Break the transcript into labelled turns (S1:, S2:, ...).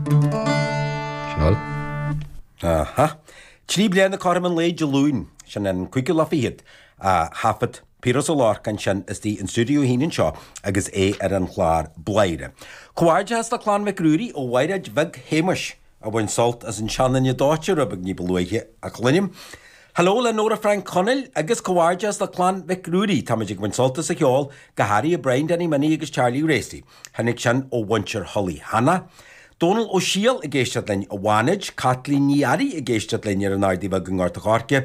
S1: Sin
S2: Aha. 3 bliana cothrom an lae Dé Luain, sin an cúigiú lá fichead, a thaifead Piaras Ó Lorcáin sin istigh in Stiúideo 1 anseo agus é ar an chlár Bladhaire. Comhghairdeas le Clann Mhic Ruairí ó Mhairéad Bheag Shéamuis a bhain sult as an seanduine dóite rud beag ní ba luaithe a chluinim. Hello le Nóra Frainc Chonaill agus comhghairdeas le Clann Mhic Ruairí. Táimid ag baint sult as an cheol, go háirithe Brian Danny Minnie agus Charlie Racy. Tháinig sin ó mhuintir Thulaigh Hanna. Dónal Ó Siadhail ag éisteacht linn i bhFánaid, Caitlín Ní Fhearraigh ag éisteacht linn ar an Ardaidh Bheag i nGort a' Choirce.